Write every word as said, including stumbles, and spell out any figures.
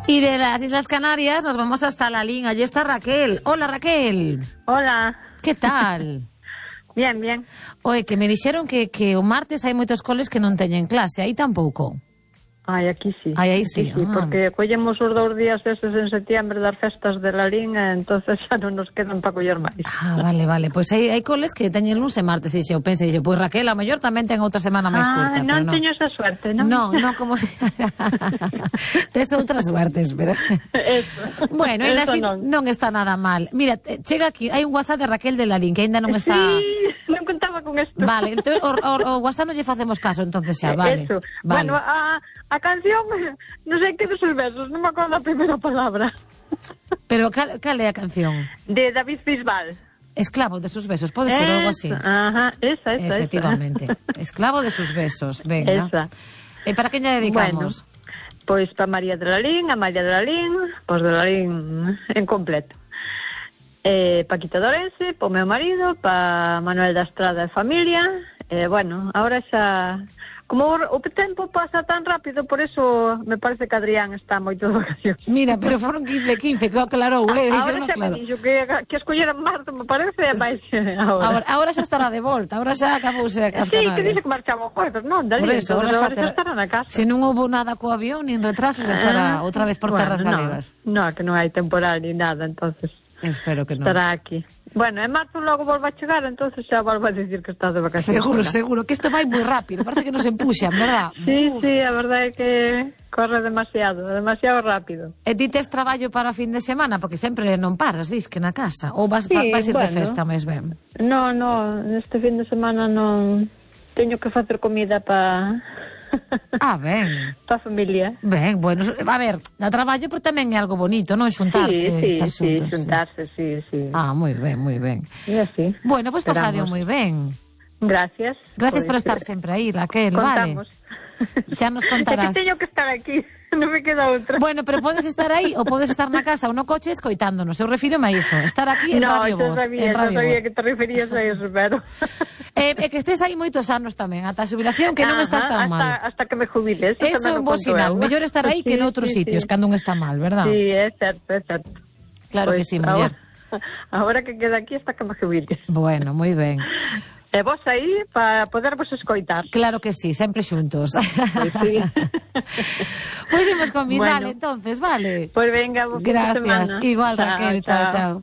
Y de las Islas Canarias nos vamos hasta la Lalín. Allí está Raquel. Hola, Raquel. Hola. Que tal? Bien, bien. Oye, que me dixeron que, que o martes hai moitos coles que non teñen clase. Aí tampouco. Ai, aquí sí. Aí, aí aquí sí, sí ah. Porque collemos os dous días eses en setiembre das festas de Lalín, entonces xa non nos quedan para coller máis. Ah, vale, vale. Pois pues hai, hai coles que teñen luns e martes. E eu pensei, pois pues Raquel, a mellor tamén ten outra semana máis curta. Ah, non pero teño esa suerte, non? Non, non como... Tes outras suertes, pero... Eso. Bueno, ainda así non. non está nada mal. Mira, chega aquí, hai un WhatsApp de Raquel de Lalín que ainda non está... Sí, non contaba con isto. Vale, entón, o, o, o WhatsApp non lle facemos caso, entonces xa, vale. Eso. Vale. Bueno, a, a canción, non sei que dos os versos, non me acordo a primeira palabra. Pero cal, cal é a canción? De David Bisbal. Esclavo de sus besos, pode ser algo así. Ajá, esa, esa, efectivamente. Esa. Esclavo de sus besos, venga. Esa. E para quen lle dedicamos? Bueno, pois para María de Lalín, a María de Lalín, pois de Lalín en completo. Eh, Paquita Dorense, para o meu marido, para Manuel da Estrada e familia. Eh, bueno, ahora xa... Como o, o tempo pasa tan rápido, por eso me parece que Adrián está moito de vacacións. Mira, pero foron quince, quince, que aclarou, eh? Ahora no xa claro. me dixo que, que escolleran marzo, me parece, e máis ahora. ahora. Ahora xa estará de volta, ahora xa acabouse as sí, Canarias. que dixe que marchaba o jueves, non? Por eso, ahora xa, ter... estará na casa. Se non houve nada co avión, nin retrasos, estará uh, outra vez por bueno, terras galegas. No, no, que non hai temporal ni nada, entonces... Espero que non. Estará aquí. Bueno, en marzo logo volva a chegar, entonces xa volva a decir que está de vacacións. Seguro, seguro, que isto vai moi rápido, parece que nos empuxan, verdad? Sí, Uf. sí, a verdade é que corre demasiado, demasiado rápido. E ti tes traballo para fin de semana, porque sempre non paras, dis que na casa, ou vas, sí, vais ir bueno, de festa máis ben? No, no, este fin de semana non teño que facer comida para... Ah, ben. Para a familia. Ben, bueno, a ver, dá traballo, pero tamén é algo bonito, non? Xuntarse, sí, sí, estar sí, xuntos. xuntarse, sí, sí. Ah, moi ben, moi ben. E así. Bueno, pois pues pasadio moi ben. Gracias. Gracias pues, por estar sempre aí, Raquel, contamos. Vale. Xa nos contarás. É que teño que estar aquí, non me queda outra. Bueno, pero podes estar aí ou podes estar na casa ou no coche escoitándonos. Eu refírome a iso, estar aquí en no, Radio Voz. No, sabía, en Radio no sabía Voz. que te referías a eso, pero... Eh, e que estés aí moitos anos tamén, ata a xubilación, que non Ajá, estás tan hasta, mal. Hasta que me jubile. Eso, eso é un bo sinal. Mellor estar aí que sí, noutros sí, sitios, sí. cando un está mal, verdad? Sí, é certo, é certo. Claro pues, que sí, muller. Ahora, ahora que queda aquí hasta que me jubile. Bueno, moi ben. E vos aí para podervos escoitar. Claro que sí, sempre xuntos. Pues sí. Pois imos con Bisbal, bueno, entonces, vale? Pues venga, vos Gracias. semana. Igual, chao, Raquel, chao, chao. chao.